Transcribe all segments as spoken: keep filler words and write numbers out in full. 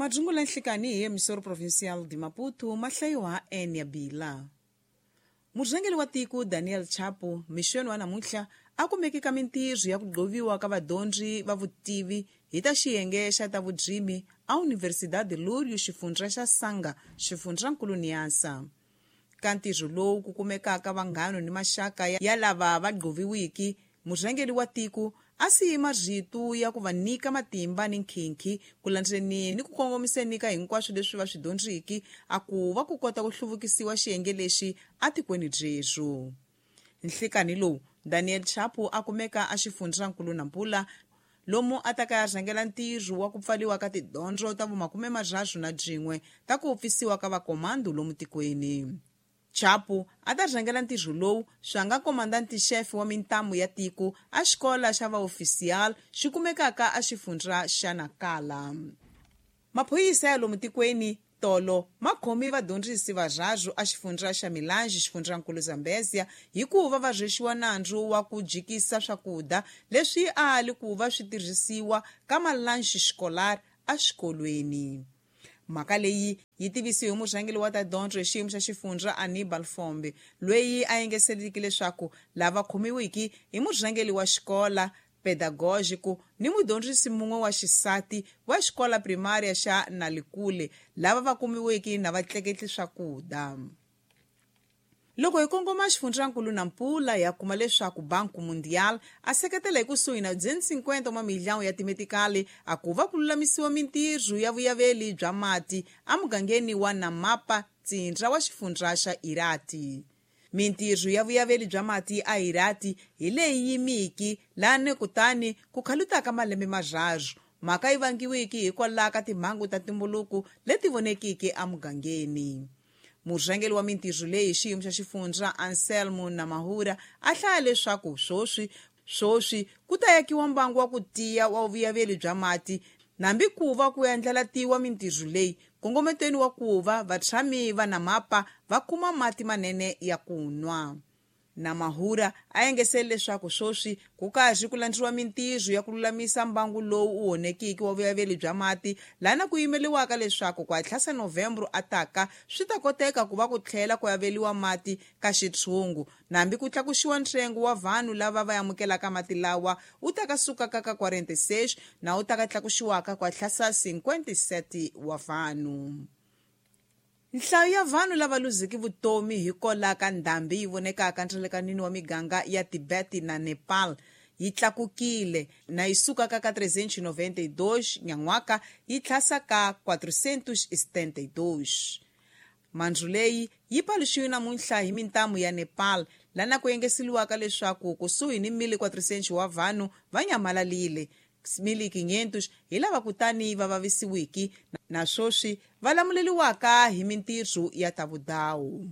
Madzungula nhlikani hi emissora provincial de Maputo mahlayiwa Enia Bila. Murhangeri wa tiko Daniel Chapo mixweni wa namuntlha a kumeke ka mintirho ya ku gqoviwa ka vadyondzi va vutivi hi ta xiyenge xa ta vurimi a Universidade Lúrio xifundza xa Sanga xifundzankulu Niassa. Ka ntirho lowu ku kumekaka vanghana ni maxaka ya lava va gqoviwiki, murhangeri wa tiko a siyi marito ya ku va nyika matimba ni nkhinkhi ku landzeni ni ku kongomiseni ka hinkwaswo leswi va swi dyondziki a ku va ku kota ku hluvukisiwa xiyenge lexi atikweni byerhu. Nhlikani lowu Daniel Chapo a kumeka a xifundzankulu Nampula lomu a ta ka ya rhangela ntirho wa ku pfaliwa ka tidyondzo ta vumakume marharhu na byin'we ta ku pfisiwa ka vakomando lomu tikweni. Chapo a ta rhangela ntirho lowu swa nga komandante-chefe wa mintamu ya tiko a xikola xa vaofisiyali xi kumekaka a xifundza xa Nakala. Maphorisa ya lomu tikweni tolo ma khomi vadyondzisi varharhu a xifundza xa Milange xifundzankulu Zambezia hikuva va rhwexiwa nandzu wa ku jikisa swakudya leswi a li ku va swi tirhisiwa ka malanchi xikolar exikolweni. Mhaka leyi yi tivisiwe hi murhangeri wa ta dyondzo hi xiyimo xa xifundza Anibal Fombe loyi a yengeseliki leswaku lava khomiwiki hi murhangeri wa xikola pedagógico ni mudyondzisi mun'we wa xisati wa xikola primária xa Nalikule lava va kumiwiki na va tleketli swakudya. Loko hi kongoma xifundzankulu Nampula ya kuma leswaku Banco Mundial a seketela hi kusuhi na duzentos e cinquenta wa milhão ya timetikali a ku va ku lulamisiwa mintirho ya vuyaveli bya mati emugangeni wa Namapa ntsindza wa xifundza xa Irati. Mintirho ya vuyaveli bya mati a Irati hi leyi yimiki lani kutani ku khalutaka malembe marharhu mhaka yi vangiwiki hikwalaho ka timhangu ta ntumbuluko leti vonekiki emugangeni. Murhangeri wa mintirho leyi hi xiyimo xa xifundza Anselmo Namahura a hlaya leswaku swoswi swoswi ku ta yakiwa mbangu wa ku tiya wa vuyaveli bya mati nambi ku va ku endlelatiwa mintirho leyi kongometweni wa ku va vatshami va Namapa va kuma mati manene ya ku nwa. Namahura a engesele leswaku swoswi ku karhi ku landziwa mintirho ya ku lulamisa mbangu lowu wu onhekiki wa vuyaveli bya mati lana ku yimeliwaka leswaku ku hatlasa Novembro ataka swi ta koteka ku va ku tlhela ku aveliwa mati ka xitshungu nambi ku tlakuxiwa ntsengo wa vanhu lava va amukelaka mati lawa wu ta ka sukaka ka quarenta e seis na wu ta ka tlakuxiwaka ku hatlasa cinquenta e sete wa vanhu. Nhlayo ya vanhu lava luziki vutomi hikwalaho ka ndhambi yi vonekaka ndzelekanini wa miganga ya Tibet na Nepal yi tlakukile na yi sukaka ka trezentos e noventa e dois nyan'waka yi tlhasa ka quatrocentos e setenta e dois. Mandzu leyi yi paluxiwe namuntlha hi mintamu ya Nepal lana ku yengeseliwaka leswaku kusuhi ni mil quatrocentos wa vanhu va nyamalalile mil quinhentos hi lava kutani va vavisiwiki na swoswi va lamuleliwaka hi mintirho ya ta vudawu.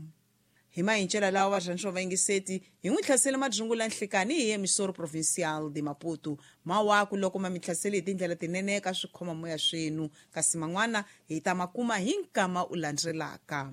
Hi mahincela lawa varhandzi va vayingiseti hi n'wi hlasele madzungula nhlikani hi emissora provincial de Maputo mawaku loko ma mi hlasele hi tindlela tinene ka swikhomamoya swenu kasi man'wana hi ta ma kuma hi nkama u landzelaka.